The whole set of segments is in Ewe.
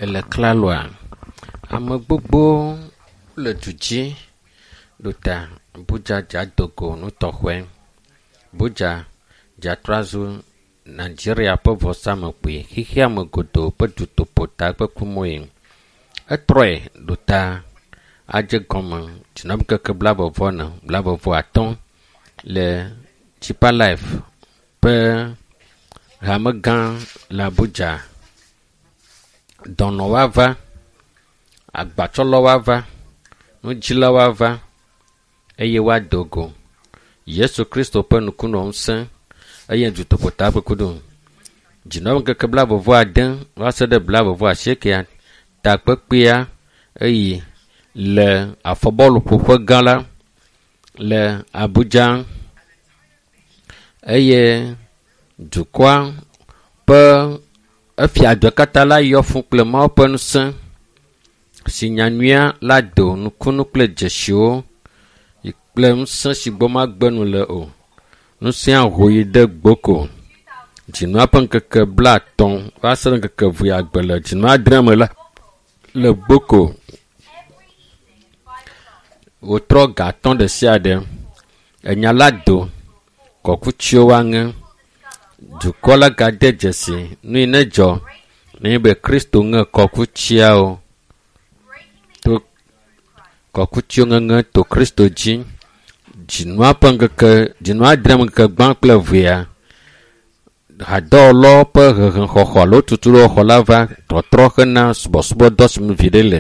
Ele klaloa? Ame gbogbo le du dzi ɖo ta Abuja dza dogo nutɔxɔe. Abuja dza trɔ azu Nigeria ƒe vɔsamlekpui xexeame godoo ƒe dutoƒo takpekumoe. Etrɔe ɖo ta adze gɔme dzinɔŋkeke blaeve-vɔ-ene, blaeve-vɔ-atɔ̃ le Deeper Life ƒe hamegã le Abuja. Dɔnɔ woava, agbatsɔlɔwo ava, nudzilawo ava eye woado go Yesu Kristo ƒe nukunɔ ŋusẽ eye dutoƒo takpekudo. Dzinɔŋkeke blaeve-vɔ-ade va se ɖe blaeve-vɔ-asiekea takpekpea eyi le afɔbɔluƒoƒe gã la le Abuja eye dukɔa ƒe efia dua katã la yɔ fũ kple Mawu ƒe ŋusẽ si nyanyuia la do nukunu kple dzesiwo kple ŋusẽ si gbɔ magbe nu le o. Ŋusẽa ho yi ɖe gboko. Dzinua ƒe ŋkeke 30 va se ɖe ŋkeke vuiagbe le dzinu adre me la le gboko. Wòtrɔ ga atɔ̃ ɖe sia ɖe. Enya la do kɔkutsiwo woaŋe. Dukɔ la gade dzesi nu yi ne dzɔ nenye be Kristo ŋe kɔkutsiawo to kɔkutsiwo ŋeŋe to Kristo dzi. Dzinua ƒe ŋkeke dzinua adre me ŋkeke gbã kple evea hadɔwɔlawo ƒe hehexɔxɔ alo tutuɖoxɔ la va tɔtrɔ hena subɔsubɔdɔ si me viɖe le.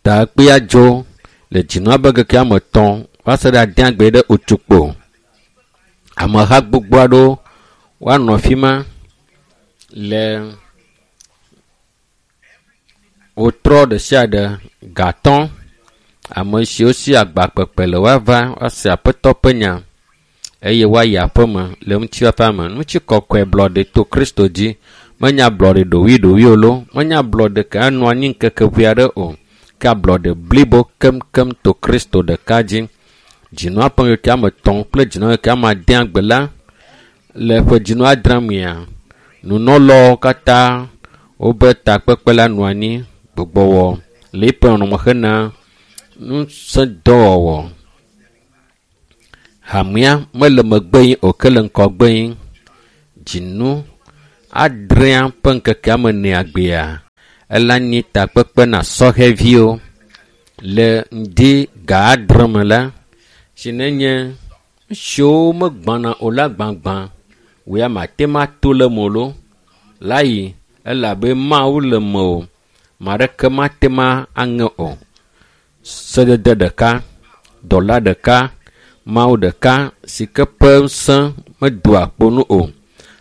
Takpea dzo le dzinua ƒe ŋkeke ame etɔ̃ va se ɖe adeagbe ɖe Otukpo. Ameha gbogbo aɖewo woanɔ afi ma le wotrɔ ɖe sia ɖe gatɔ̃. Ame siwo si agba kpekpe le woava woase aƒetɔ ƒe nya eye woayi aƒeme le ŋutifafa me. Ŋutikɔkɔe blɔɖe to Kristo dzi. Menye ablɔɖe ɖoɖoeɖoɖoe o loo, menye ablɔɖe ke anɔ anyi ŋkeke ʋɛ aɖe o ke ablɔɖe blibo keŋkeŋ to Kristo ɖeka dzi. Dzinua ƒe ŋkeke ame etɔ̃ kple dzinua ŋkeke ame ade agbe la le ƒe dzinu adre mea, nunɔlawo katã wobe takpekpe la nɔ anyi gbugbɔwɔ le eƒe nɔnɔme hena ŋusẽdɔwɔwɔ. Hamea mele megbe yim o ke le ŋgɔgbe yim. Dzinu adrea ƒe ŋkeke ame enea gbea ela nyi takpekpe na sɔhɛviwo le ŋdi ga adre me la si nenye nu siwo megbãna o la gbãgbã wò ya mate ŋu ato le eme o loo la yi elabe Mawu le mewò. Ame aɖeke mate ŋu aŋe o. Sedede ɖeka, dɔla ɖeka, Mawu ɖeka si ke ƒe ŋusẽ medoa kpo nu o.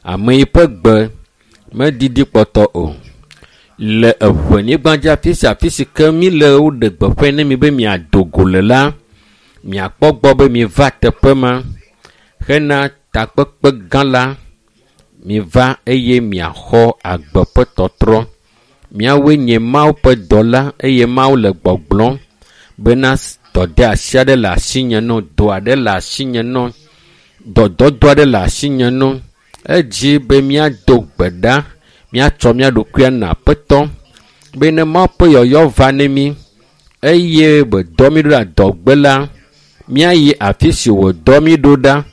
Ame yi ƒe gbe meɖiɖi kpɔtɔ o. Le eŋenyigba dzi afi sia afi si ke mi le woɖe gbeƒãe ne mi be miado go le la, miakpɔ gbɔ be miva teƒe ma hena takpekpe gã la. Miva eye miaxɔ agbe ƒe tɔtrɔ. Miawoe nye Mawu ƒe dɔla eye Mawu le gbɔgblɔm bena dɔdeasi aɖe le asinye nɔ, dɔ aɖe le asinye nɔ, dɔdɔdɔ aɖe le asinye nɔ. Edzi be míado gbe ɖa, míatsɔ mía ɖokui ana Aƒetɔ be ne Mawu ƒe yɔyɔ va ne mí eye wòdɔ mí ɖo ɖe adɔgbe la, míayi afi si wòdɔ mí ɖo ɖa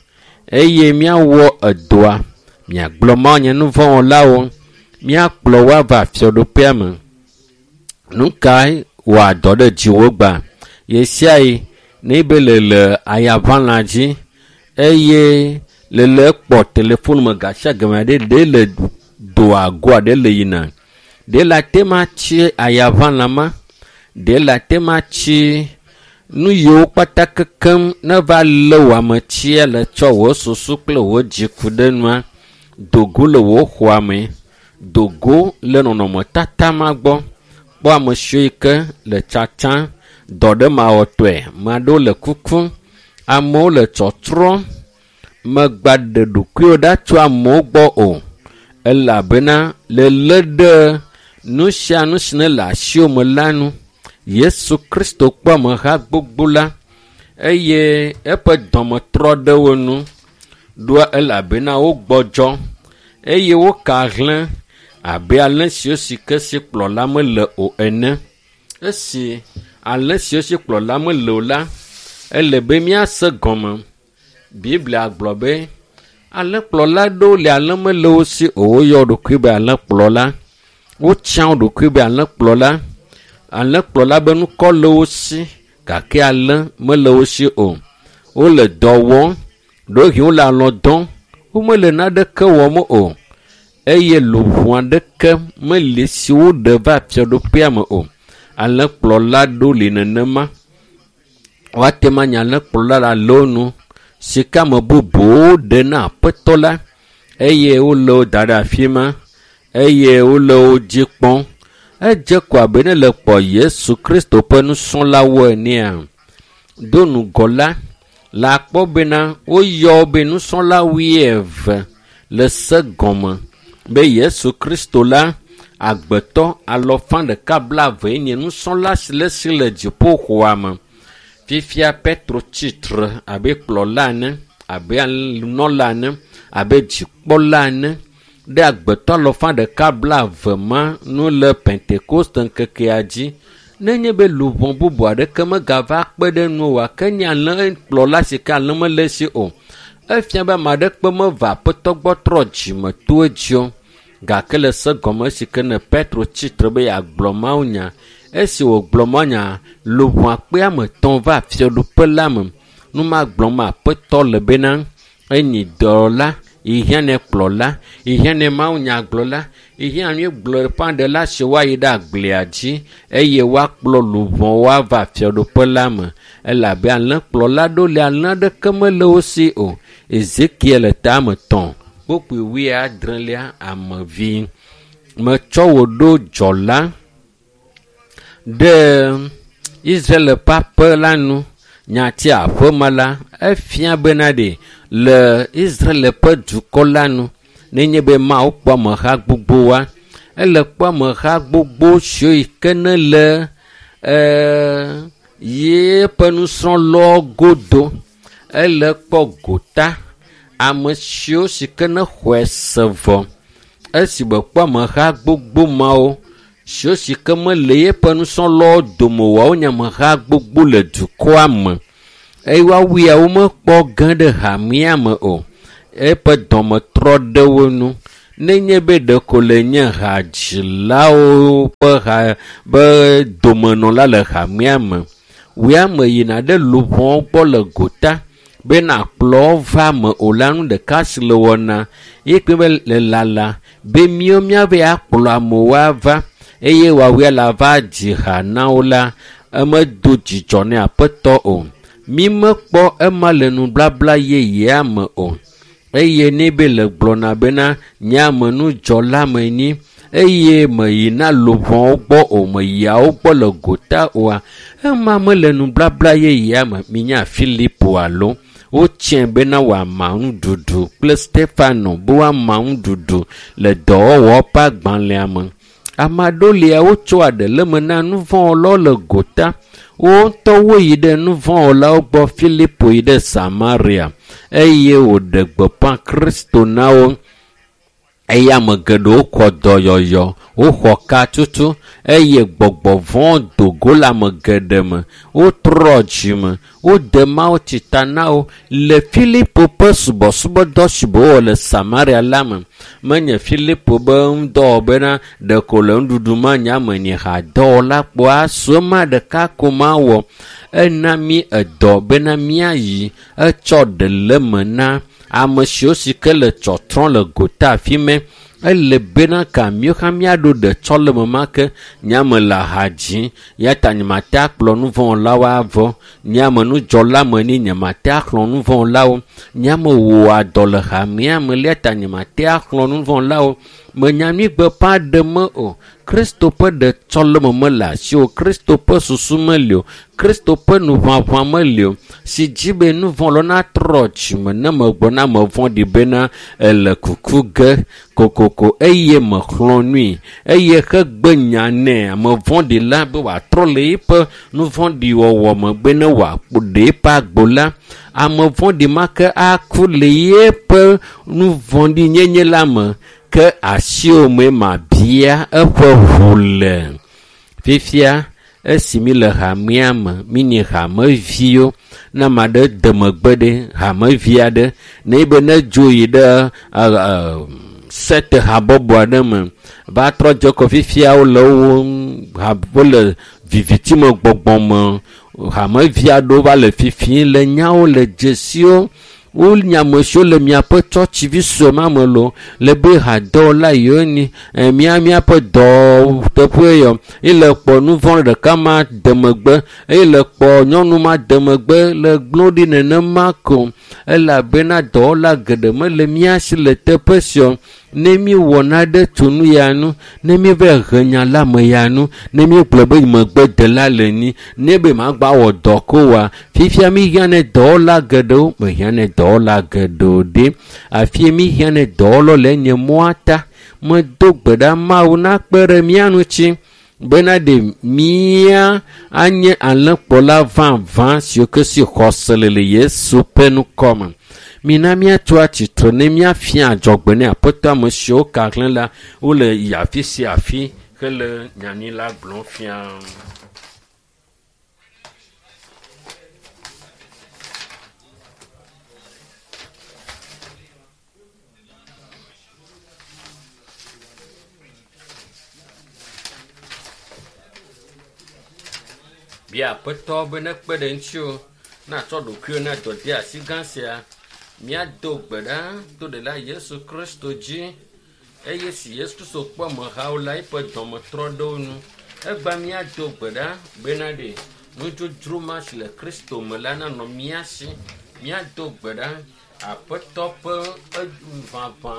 eye míawɔ edɔa. Miagblɔ Mawu nye nuvɔ̃wɔlawo, míakplɔ wo ava fiaɖuƒea me. Nu kae wɔa dɔ ɖe dziwò gbã? Ɣe ne be le le ayaʋalã dzi eye le le kpɔ telefon me gasiagame aɖe ɖe le doa goa ɖe le yina. Ɖe le ate ŋu atsi ayaʋalã ma, ɖe le ate ŋu atsi nu yiwo kpata kekem ne va lé wò ametsia le tsɔ wò susu kple wò dzi ku ɖe nua, do go le wò xɔa me, do go le nɔnɔmetata ma gbɔ. Kpɔ ame siwo yi ke le tsatsa dɔ ɖe mawɔtɔe. Ame aɖewo le kukum, amewo le tsɔtrɔm. Megba ɖe ɖokuiwò ɖa tso amewo gbɔ o elabena lelé ɖe nu sia nu si ne le asiwò me la nu. Yesu Kristo kpɔ ameha gbogbo la eye eƒe dɔme trɔ ɖe wo nu ɖoa elabena wogbɔdzɔ eye woka hlẽ Abe alẽ siwo si ke si kplɔla mele o ene. Esi alẽ siwo si kplɔla mele o la, ele be míase gɔme. Biblia gblɔ be alẽkplɔla aɖewo le alẽ mele wo si o. Woyɔ wo ɖokui be alẽkplɔla. Wotsã wo ɖokui be alẽkplɔla. Alẽkplɔla be ŋkɔ le wo si gake alẽ mele wo si o. Wole dɔ wɔm, ɖewohĩ wole alɔ dɔm, womele naneke wɔm o eye luʋɔ aɖeke meli si woɖe va fiaɖuƒea me o. Alẽkplɔla aɖewo li nenema. Woate ŋu anye alẽkplɔla le alewo nu si ke ame bubuwo ɖe na aƒetɔ la eye wole wo da ɖe afi ma eye wole wo dzi kpɔm. Edze ko abe ne le kpɔ Yesu Kristo ƒe nusrɔ̃lawo enea, do ŋgɔ la, le akpɔ bena woyɔ wo be nusrɔ̃la wuieve le se gɔme be Yesu Kristo la agbetɔ alɔfa ɖeka blaeve nye nusrɔ̃la si le si le dziƒoxɔa me. Fifia Petro tsitre abe kplɔla ene, abe nunɔla ene, abe dzikpɔla ene ɖe agbetɔ alɔfa ɖeka blaeve ma nu le Pentekoste ŋkekea dzi. Nenye be luʋɔ bubu aɖeke megava kpe ɖe nu oa, ke nye alẽkplɔla si ke alẽ mele esi o. Efia be ame aɖeke meva aƒetɔ gbɔ trɔ dzime to edzi o. Gake le se gɔme si ke ne Petro tsitre be yeagblɔ mawunya. Esi wògblɔ mawunya, luʋɔ akpe ame etɔ̃ va fiaɖuƒe la me. Nu ma gblɔm aƒetɔ le bena enyi dɔla, yehiã ne kplɔla, yehiã ne mawunyagblɔla, yehiã nyuigblɔ ƒãɖela si woayi ɖe agblea dzi eye woakplɔ luʋɔwo ava fiaɖuƒe la me. Elabe alẽkplɔla ɖewo le alẽ aɖeke mele wo si o. Ezekiel tame 3 kpukpui wuiadrelia amevi. Metsɔ wò ɖo dzɔla ɖe Israel ƒe aƒe la nu. Nyati aƒeme la, efia bena ɖe le Israel ƒe dukɔ la nu nenye be Mawu kpɔ ameha gbogboa, ele kpɔ ameha gbogbo siwo yi ke ne le yeƒe nusrɔ̃lawo godo. Ele kpɔ gota ame siwo si ke ne xɔe se vɔ. Esi wòkpɔ ameha gbogbo mawo siwo si ke mele yeƒe nusrɔ̃lawo dome oa, wonye ameha gbogbo le dukɔa me. Eye woawoe womekpɔ ge ɖe hamea me o. Eƒe dɔme trɔ ɖe wo nu. Nenye be ɖeko le nye hadzilawo ƒe ha be domenɔla le hamea me, wòe ame yina ɖe luʋɔwo gbɔ le gota be nakplɔ wo va me o la, nu ɖeka si le wɔna ye kpe be le lala be míawo míave akplɔ amewo ava eye woawoe la va dzi ha na wo la, emedo dzidzɔ ne aƒetɔ o. Mi mekpɔ ema le nublabla yeyea me o. Eye ne be le gblɔna bena nye amenudzɔla menyi eye meyina luʋɔwo gbɔ o, meyia wo gbɔ le gota oa, ema mele nublabla yeyea me. Minya Filipo alo wotsɛ bena wòama nuɖuɖu kple Stefano be woama nuɖuɖu le dɔwɔwɔ ƒe agbalẽa me. Ame aɖewo lia wotsɔa ɖe le eme na nuvɔ̃wɔlawo le gota. Wo ŋutɔ woyi ɖe nuvɔ̃wɔlawo gbɔ. Filipo yi ɖe Samaria eye wòɖe gbeƒã Kristo na wo. Eye ame geɖewo xɔ dɔyɔyɔ, woxɔ katutu eye gbɔgbɔ vɔ̃ do go le ame geɖe me. Wotrɔ dzime, wode Mawu tsita na wo le Filipo ƒe subɔsubɔdɔ si wòwɔ le Samaria la me. Menye Filipo be ŋudɔwɔ bena ɖeko le nuɖuɖu ma nye ame nyi hadɔwɔla kpoa asu ema ɖeka ko mawɔ. Ena mí edɔ bena míayi etsɔ ɖe le eme na ame siwo si ke le tsɔtrɔm le gota afi mɛ. Ele bena ka míawo hã míaɖo ɖetsɔleme ma ke. Nye ame le aha dzi ya ta nyemate akplɔ nuvɔ̃wɔlawo avɔ. Nye ame nudzɔla me ni nyemate axlɔ nuvɔ̃wɔlawo. Nye ame wɔa dɔ le hamea me ya ta nyemate axlɔ nuvɔ̃wɔlawo. Menya nyuigbeƒã ɖe me o. Kristo ƒe ɖetsɔleme mele asi o. Kristo ƒe susu meli o. Kristo ƒe nuʋaʋã meli o. Si dzi be nuvɔ̃wɔlawo natrɔ dzime ne megblɔ na ame vɔ̃ɖi bena ele kuku ge kokoko eye mexlɔ̃ nui eye hegbe nya nɛ ame vɔ̃ɖi la be wòatrɔ le eƒe nuvɔ̃ɖiwɔwɔ me be ne wòaɖe eƒe agbo la, ame vɔ̃ɖi ma ke aku le yeƒe nuvɔ̃ɖinyenye la me. Ke asiwò mee mabia eƒe ʋu le. Fifia esi mi le hamea me, mi nye hameviwo. Ne ame aɖe de megbe ɖe hamevi aɖe, ne be ne dzo yi ɖe sete habɔbɔ aɖe me va trɔ dze kɔ fifia wole wo wole viviti me gbɔgbɔ me. Hamevi aɖewo va le fifi le nyawo le dzesiwo. Wonye ame siwo le miaƒe tsɔtsivi sue ma me loo le be hadɔwɔla yiwo ni mía míaƒe dɔteƒe yɔ ye le kpɔ nu vɔ̃ ɖeka ma de megbe eye le kpɔ nyɔnu ma de megbe le gblɔ ɖi nenema ko elabena dɔwɔla geɖe mele mía si le teƒe sia. Ne míewɔ naɖe tso nu ya nu, ne míeva he nya la me ya nu, ne míegblɔ be megbedela le ni, ne be magba wɔ dɔ ko oa, fifia míhiã ne dɔwɔla geɖewo, mehiã ne dɔwɔla geɖewo ɖe. Afie míhiã ne dɔwɔlawo le nye mɔa ta. Medo gbe ɖa Mawu nakpe ɖe mía ŋuti bena ɖe mía anye alẽkplɔla vavã siwo ke si xɔse le le Yesu ƒe ŋkɔ me. Mina míatso atsitre ne míafia adzɔgbe ne aƒetɔ ame siwo ka hlẽ la wole yi afi sia afi hele nyanyui la gblɔm fia. Bia aƒetɔ be nekpe ɖe ŋutiwò natsɔ ɖokuiwò na dɔdeasi gã sia. Míado gbe ɖa to ɖela Yesu Kristo dzi eye si Yesu Kristo kpɔ amehawo la eƒe dɔme trɔ ɖe wo nu. Egba míado gbe ɖa bena ɖe nudzodzro ma si le Kristo me la nanɔ mía si. Míado gbe ɖa aƒetɔ ƒe vavã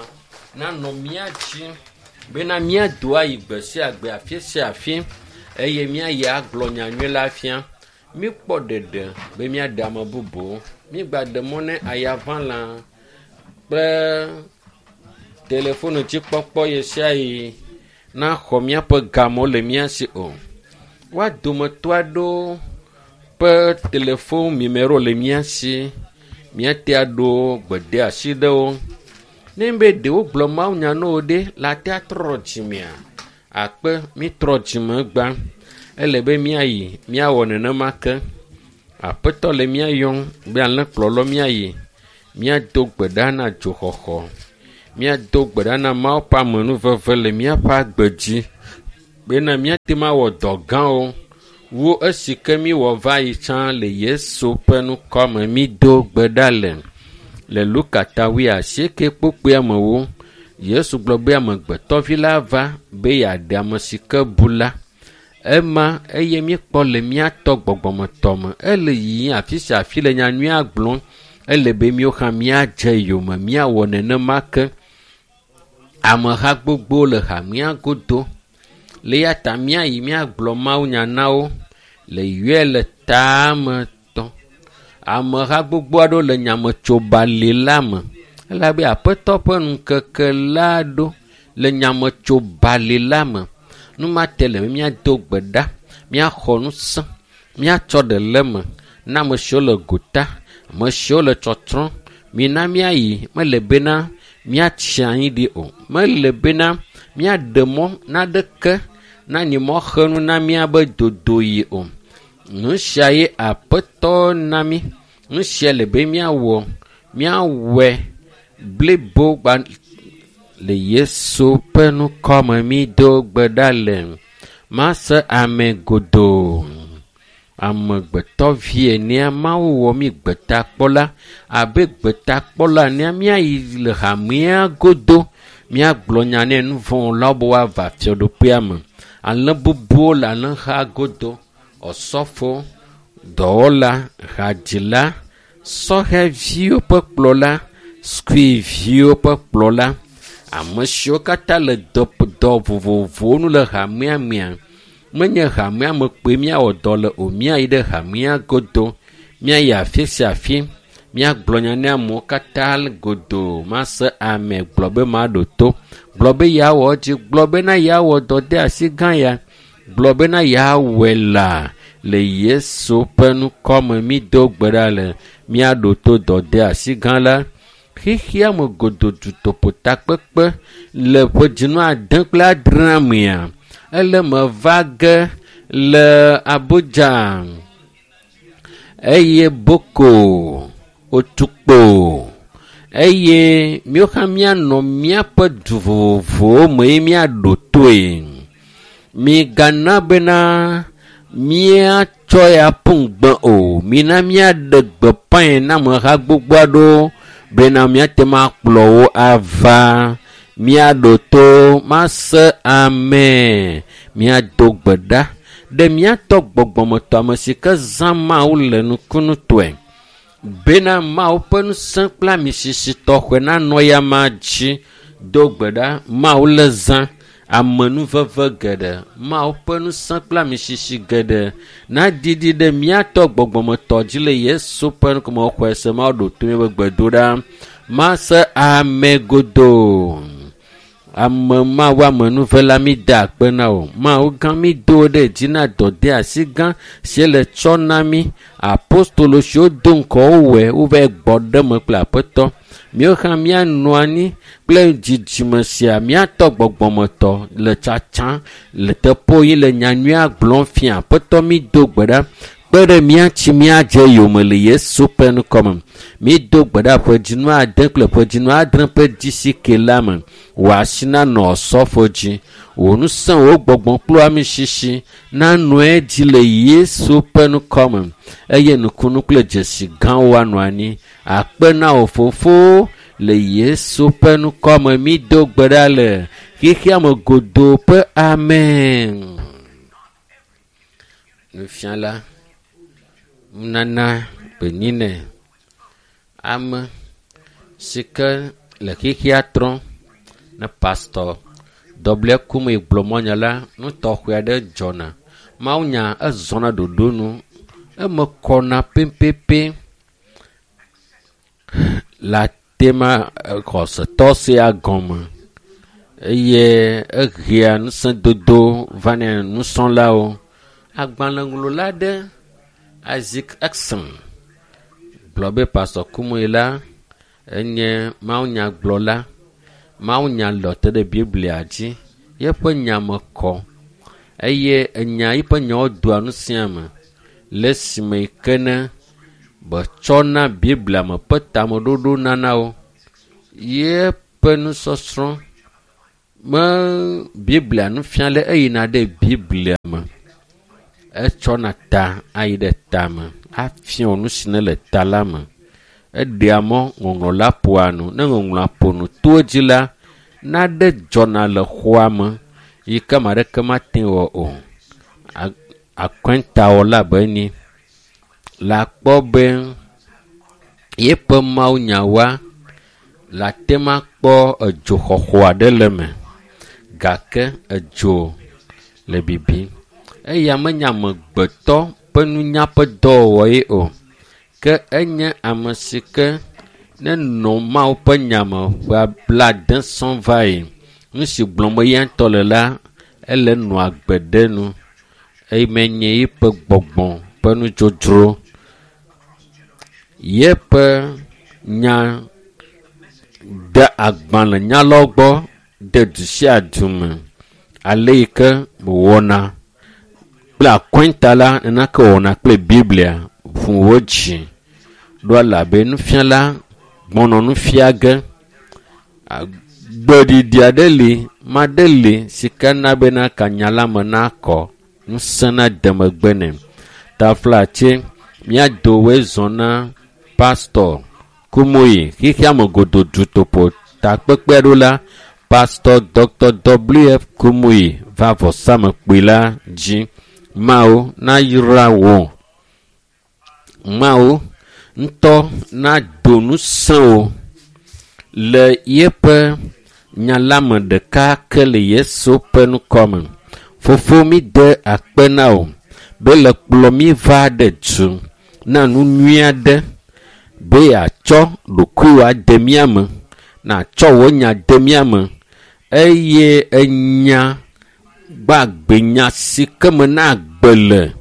nanɔ mía dzi bena míado ayi gbe sia gbe afi sia afi eye míayi agblɔ nyanyui la fia. Míkpɔ ɖeɖe be míaɖe ame bubuwo. Mígba ɖe mɔ ne ayaʋãlã kple telefonu dzikpɔkpɔ ɣe sia ɣi naxɔ míaƒe gamewo le mía si o. Woa dometɔ aɖewo ƒe telefon nimero le mía si. Míate aɖo gbedeasi ɖe wo. Ne be ɖewo gblɔ mawunya na wo ɖe la te atrɔ dzimea, akpe mítrɔ dzime gbã. Ele be míayi míawɔ nenema ke. Aƒetɔ le mía yɔm be alẽkplɔlɔ míayi. Míado gbe ɖa na dzoxɔxɔ. Míado gbe ɖa na Mawu ƒe amenuveve le míaƒe agbe dzi bena míate ŋu awɔ dɔ gãwo wu esi ke míwɔ va yi tsã le Yesu ƒe ŋkɔ me. Mído gbe ɖa le Luka ta 18 kpukpui amewo. Yesu gblɔ be amegbetɔvi la va be yeaɖe ame si ke bu la. Ema eye míekpɔ le míatɔ gbɔgbɔmetɔ me. Ele yiyim afi sia afi le nyanyuia gblɔm. Ele be míawo hã míadze yome míawɔ nenema ke. Ameha gbogbo le hamea godo. Le eya ta míayi míagblɔ mawunya na wo le yɔe le tame tɔ. Ameha gbogbo aɖewo le nyametsobali la me. Elabe aƒetɔ ƒe ŋkeke la ɖo le nyametsobali la me. Nu ma te le be míado gbe ɖa, míaxɔ ŋusẽ, míatsɔ ɖe le eme na ame siwo le gota, ame siwo le tsɔtsrɔ̃m. Mina míayi, mele bena míatsi anyi ɖi o. Mele bena míaɖe mɔ naɖeke nanyi mɔxenu na míabe dodoyi o. Nu sia ye aƒetɔ na mí. Nu sia le be míawɔ, míawɔe blibo gba le Yesu ƒe ŋkɔ me. Mído gbe ɖa le mase ame godoo. Amegbetɔvi enea Mawu wɔ mí gbetakpɔla abe gbetakpɔla enea míayi le hamea godo míagblɔ nya ne nu vɔ̃wɔlawo be woava fiaɖuƒea me. Alẽ bubuwo le alẽha godo. Osɔfo, dɔwɔla, hadzila, sɔhɛviwo ƒe kplɔla, sukuviwo ƒe kplɔla, ame siwo katã le dɔ vovovowo nu le hamea mea. Menye hamea me kpoe míawɔ dɔ le o. Míayi ɖe hamea godo. Míayi afi sia afi. Míagblɔ nya ne amewo katã godoo. Mase ame gblɔ be maɖo to. Gblɔ be yeawɔ edzi. Gblɔ bena yeawɔ dɔdeasi gã ya. Gblɔ bena yeawɔe la le Yesu ƒe ŋkɔ me. Mído gbe ɖa le míaɖo to dɔdeasi gã la. Xexea me godoo dutoƒo takpekpe le ƒe dzinu ade kple adrea mea, ele me va ge le Abuja eye Boko, Otukpo eye míwo hã míanɔ míaƒe du vovovowo me ye míaɖo toe. Migana bena míatsɔ ya ƒu ŋugbe o. Mina míaɖe gbeƒãe na ameha gbogbo aɖewo bena míate ŋu akplɔ wo ava. Míaɖo to mase ame. Míado gbe ɖa ɖe míatɔ gbɔgbɔmetɔ ame si ke zã Mawu le nukunutɔe bena Mawu ƒe ŋusẽ kple amisisi tɔxɛ nanɔ yama dzi. Do gbe ɖa Mawu le zã amenuveve geɖe, Mawu ƒe ŋusẽ kple amisisi geɖe naɖiɖi ɖe míatɔ gbɔgbɔmetɔ dzi le Yesu ƒe ŋkume xɔe se Mawu ɖo to míaƒe gbedoɖa. Mase ame godoo. Ame Mawu amenuvela mi da akpe na wò. Mawu gã mi do ɖe dzi na dɔdeasi gã si le tsɔ na mí. Apostolo siwo do ŋgɔ wowɔe wova gbɔ ɖe eme kple aƒetɔ. Míawo hã míanɔ anyi kple dzidzime sia míatɔ gbɔgbɔmetɔ le tsatsa le teƒewo yi le nyanyuia gblɔm fia. Aƒetɔ mi do gbe ɖa kpe ɖe mía ŋuti míadze yome le Yesu ƒe ŋkɔme. Mído gbe ɖa ƒe dzinu ade kple ƒe dzinu adre ƒe dzisike la me. Wò asi nanɔ osɔfo dzi. Wò ŋusẽ, wò gbɔgbɔ kple amisisi nanɔ edzi le Yesu ƒe ŋkɔme eye nukunu kple dzesi gãwo anɔ anyi. Akpe na wò fofo le Yesu ƒe ŋkɔme mído gbe ɖa le xexea me godoo ƒe amen. Nufiala nunana gbenyinɛ ame si ke le xexea trɔm ne pastɔ W. Kume gblɔ mɔnya la, nu tɔxɛ aɖe dzɔna. Mawunya ezɔna ɖoɖo nu. Eme kɔna pɛpɛpɛ le atema xɔsetɔ sia gɔme eye ehea ŋusẽdodo vanɛ nusrɔ̃lawo. Agbalẽŋlɔla aɖe Isaac Exum gblɔ be Pastɔ Kumuyi la enye mawunyagblɔla. Mawunya lɔ te ɖe Biblia dzi. Yeƒe nya me kɔ eye enya yiƒe nyawo doa ŋusẽ ame le esime yi ke ne betsɔna Biblia me ƒe tameɖoɖo nana wo. Yeƒe nusɔsrɔ̃ me Biblia nufiala eyina ɖe Biblia me. Etsɔna ta ayi ɖe tame afia wò nu si ne le ta la me. Eɖea mɔ ŋɔŋlɔ la ƒoa nu. Ne ŋɔŋlɔa ƒo nu to edzi la, naɖe dzɔna le xɔa me yi ke ame aɖeke mate wɔ o. Akɔntawɔla abe enyi le akpɔ be yeƒe mawunyawoa le ate ŋu akpɔ edzoxɔxɔ aɖe le eme gake edzo le bibim. Eya menye amegbetɔ ƒe nunya ƒe dɔwɔwɔ ye o ke enye ame si ke nenɔ Mawu ƒe nya me ƒe blaade sɔŋ va yi. Nu si gblɔm eya ŋutɔ le la, ele nɔa agbe ɖe nu eye menye eƒe gbɔgbɔ ƒe nudzodzro. Yeƒe nya de agbalẽnyalawo gbɔ de du sia du me ale yi ke wòwɔna kple akɔnta la nenake wòwɔna kple Biblia ʋu wo dzi ɖo elabe nufiala gbɔnɔ nu fia ge. Gbeɖiɖi aɖe li, maɖe li si ke na bena kanya la me nakɔ, ŋusẽ nade megbe nɛ. Taflatse míado woe zɔ na Pastɔ Kumuyi xexea me godoo dutoƒo takpekpe ɖo la, Pastɔ Dr. W.F. Kumuyi va vɔsamekpui la dzi. Mawu nayra wò. Mawu ŋutɔ nado ŋusẽ wò le yeƒe nya la me ɖeka ke le Yesu ƒe ŋkɔme. Fofo mi de akpe na wò be le kplɔ mí va ɖe du na nu nyui aɖe be yeatsɔ ɖokuiwò ade mía me, natsɔ wò nya de mía me eye enya gbagbe nya si ke me na agbe le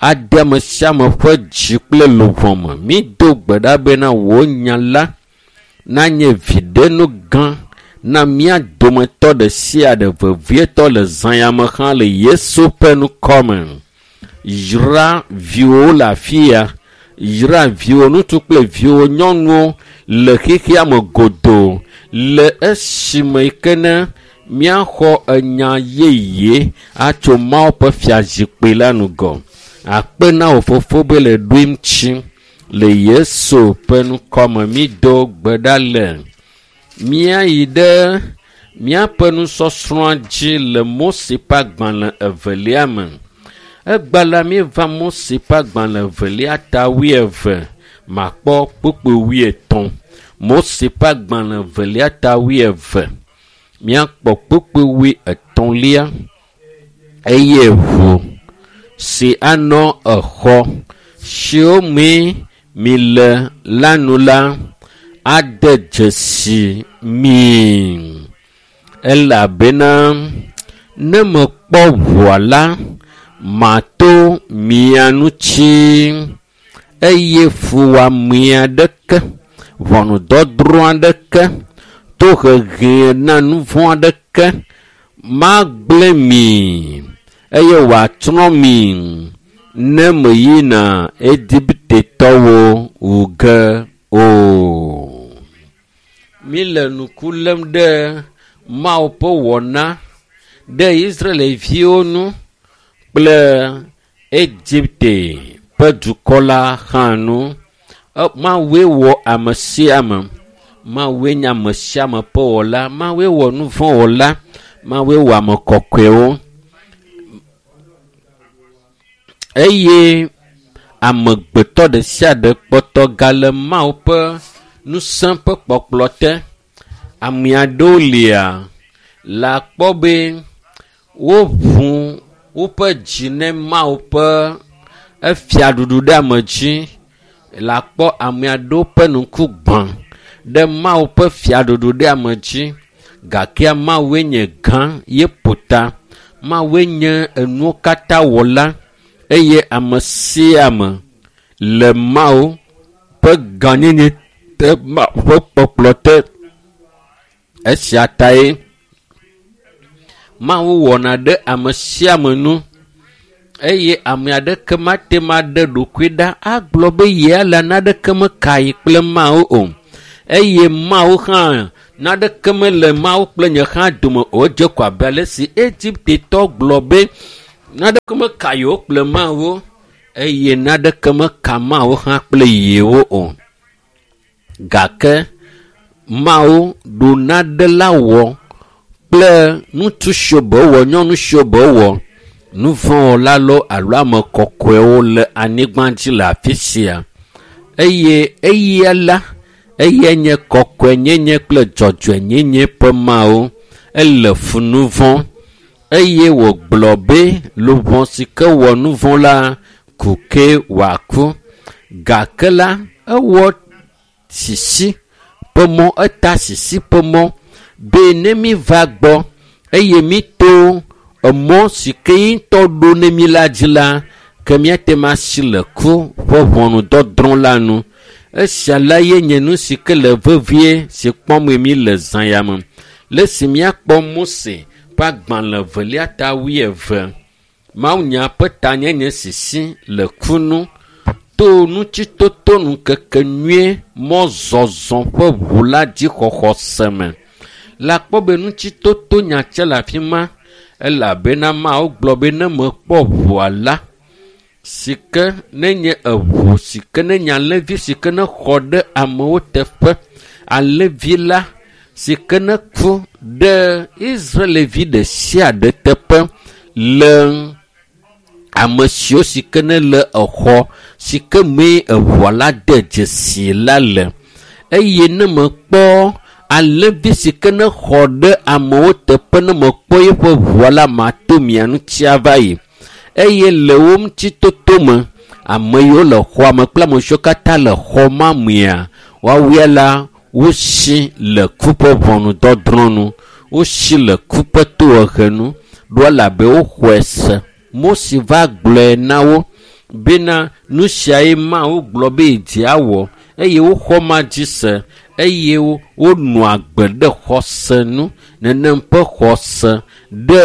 ade ame sia ame ƒe dzi kple luʋɔ me. Mído gbe ɖa bena wò nya la nanye viɖenu gã na mía dometɔ ɖe sia ɖe vevietɔ le zã ya me hã le Yesu ƒe ŋkɔme. Yra viwòwo le afi ya. Yra viwò ŋutsu kple viwò nyɔnuwo le xexea me godoo le esime yi ke ne míaxɔ enya yeye atso Mawu ƒe fiazikpui la ŋgɔ. Akpe na wò fofo be le ɖoe ŋuti le Yesu ƒe ŋkɔme mído gbe ɖa le. Míayi ɖe míaƒe nusɔsrɔ̃a dzi le Mose ƒe agbalẽ evelia me. Egba la míeva Mose ƒe agbalẽ evelia ta 20 makpɔ kpukpui 50. Mose ƒe agbalẽ evelia ta 20 míakpɔ kpukpui 50 eye ʋu si anɔ exɔ siwo mee mi le la nu la ade dzesi mi elabena ne mekpɔ ʋua la mato mia ŋuti eye fuwɔame aɖeke, ʋɔnudɔdrɔ̃ aɖeke, tohehe na nu vɔ̃ aɖeke magblẽ mi eye wòatsrɔ̃ mi ne meyina Egiptetɔwo wu ge o. Míle ŋku lém ɖe Mawu ƒe wɔna ɖe Israelviwo ŋu kple Egipte ƒe dukɔ la hã ŋu. Mawue wɔ ame sia ame. Mawue nye ame sia ame ƒe wɔla. Mawue wɔ nu vɔ̃ wɔla. Mawue wɔ ame kɔkɔewo. Eye amegbetɔ ɖe sia ɖe kpɔtɔ gale Mawu ƒe ŋusẽ ƒe kpɔkplɔ te. Ame aɖewo lia le akpɔ be woʋu woƒe dzi ne Mawu ƒe efiaɖuɖu ɖe ame dzi. Le akpɔ ame aɖewo ƒe ŋku gbã ɖe Mawu ƒe fiaɖuɖu ɖe ame dzi. Gake Mawue nye gã ye ƒo ta. Mawue nye enuwo katã wɔla eye ame sia ame le Mawu ƒe gãnyenye te, Mawu ƒe kpɔkplɔ te. Esia tae Mawu wɔna ɖe ame sia ame nu eye ame aɖeke mate ŋu aɖe ɖokui ɖa agblɔ be yea la naneke meka yi kple Mawu o. Eye Mawu hã naneke mele Mawu kple nye hã dome o. Edze ko abe ale si Egiptetɔ gblɔ be naneke meka yewo kple Mawu eye naneke meka Mawu hã kple yewo o. Gake Mawu ɖo nane la wɔ kple ŋutsu siwo be wɔ, nyɔnu siwo be wɔ, nu vɔ̃ wɔla loo alo ame kɔkɔewo le anyigba dzi le afi sia. Eye eya la, eya nye kɔkɔenyenye kple dzɔdzɔenyenye ƒe Mawu. Ele fu nu vɔ̃ eye wògblɔ be luʋɔ si ke wɔ nu vɔ̃ la ku ke wòaku. Gake la, ewɔ sisi ƒe mɔ, eta sisi ƒe mɔ be ne mi va gbɔ eye mi to emɔ si ke ŋutɔ ɖo ne mi la dzi la, ke míate ŋu asi le ku ƒe ʋɔnudɔdrɔ̃ la nu. Esia la ye nye nu si ke le vevie si kpɔm mi le zã ya me. Le esi míakpɔ Mose ƒe agbalẽ evelia ta 20, Mawunya ƒe tanyenye sisi le ku nu to ŋutitoto ŋkeke nyuie mɔzɔzɔ ƒe ʋu la dzixɔxɔ se me. Le akpɔ be ŋutitoto nyatse le afi ma elabena Mawu gblɔ be ne mekpɔ ʋua la si ke nenye eʋu si ke nenye alẽvi si ke nexɔ ɖe amewo teƒe, alẽvi la si ke neku ɖe Israelvi ɖe sia ɖe teƒe le ame siwo si ke nele exɔ si ke mee eʋua la de dzesi la le. Eye ne mekpɔ alẽvi si ke nexɔ ɖe amewo teƒe ne mekpɔ eƒe ʋua la mato mia ŋuti ava yi. Eye le wo ŋuti toto me, ame yiwo le xɔa me kple ame siwo katã le xɔ ma mea, woawoe la wosi le ku ƒe ʋɔnudɔdrɔ̃ nu, wosi le ku ƒe tohehe nu, ɖo elabe woxɔe se. Mose va gblɔe na wo bena nu siae Mawu gblɔ be yedzi awɔ eye woxɔ ma dzi se. eye wonɔa agbe ɖe xɔse nu. Nenem ƒe xɔse ɖe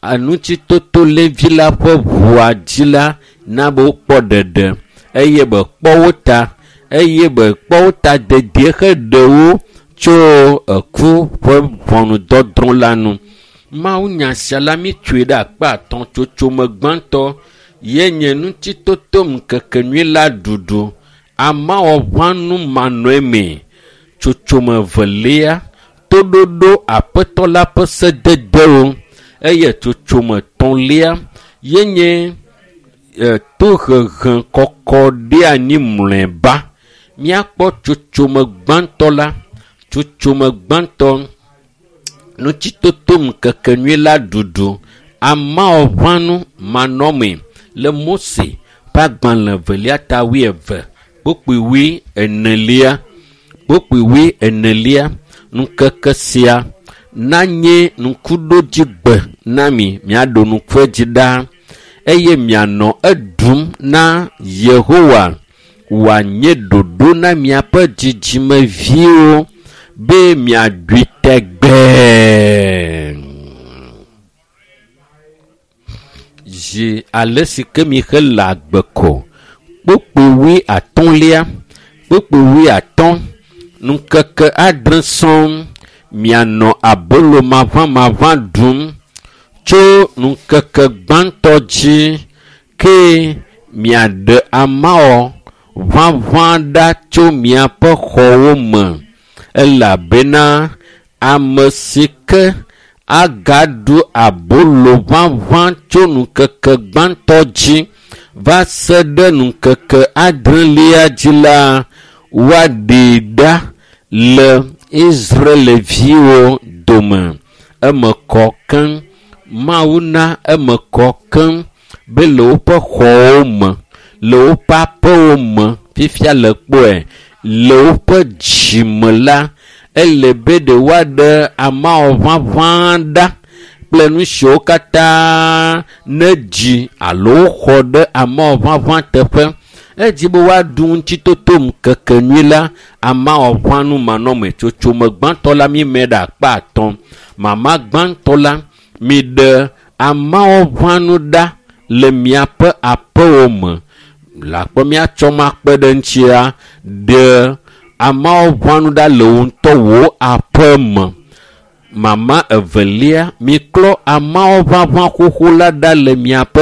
enutsitoto levi la ƒe ʋua dzi la na be wokpɔ ɖeɖe eye be kpɔ wo ta eye be kpɔ wo ta dedie heɖe wo tso eku ƒe ʋɔnudɔdrɔ̃ la nu. Mawunya sia la mítsoe ɖe akpa atɔ̃ tsotsome gbãtɔ ye nye ŋutitoto ŋkekenyui la ɖuɖu amawɔʋãnu manɔe tsotsome evelia toɖoɖo aƒetɔ la ƒe sededewo eye tsotsome etɔ̃lia ye nye tohehe kɔkɔ ɖe anyi mlɔeba. Míakpɔ tsotsome gbãtɔ la, tsotsome gbãtɔ ŋutitoto ŋkekenyui la ɖuɖu amawɔʋãnu manɔmee le Mose ƒe agbalẽ evelia ta wuieve kpukpui wuienelia kpukpui wuienelia ŋkeke sia nanye ŋkuɖodzigbe na mi miaɖo ŋku edzi ɖaa eye mianɔ eɖum na Yehowa wòanye ɖoɖo na miaƒe dzidzimeviwo be miaɖui tegbee. Zi ale si ke mixe le agbe ko kpukpui wuiatɔ̃lia kpukpui wuiatɔ̃ ŋkeke adre sɔŋ mianɔ abolo maʋamaʋã ɖum tso ŋkeke gbãtɔ dzi ke miaɖe amawɔ ʋaʋã ɖa tso miaƒe xɔwo me elabena ame si ke agaɖu abolo ʋaʋã tso ŋkeke gbãtɔ dzi va se ɖe ŋkeke adrelia dzi la woaɖee ɖa le Israelviwo dome. Eme kɔ keŋ. Mawu na eme kɔ keŋ be le woƒe xɔwo me, le woƒe aƒewo me fifia le kpɔe le woƒe dzime la ele be ɖe woaɖe amawɔ ʋaʋã ɖa kple nu siwo katã ne dzi alo xɔ ɖe amawɔ ʋaʋã teƒe. Edzi be woaɖu ŋutitoto ŋkekenyui la amawɔʋãnu manɔme. Tsotsome gbãtɔ la mímɛ ɖe akpa atɔ̃. Mama gbãtɔ la miɖe amawɔʋãnu ɖa le miaƒe aƒewo me. Le akpɔ míatsɔ makpe ɖe ŋutia ɖe amawɔʋãnu ɖa le wò ŋutɔ wò aƒe me. Mama evelia miklɔ amawɔʋaʋã xoxo la ɖa le miaƒe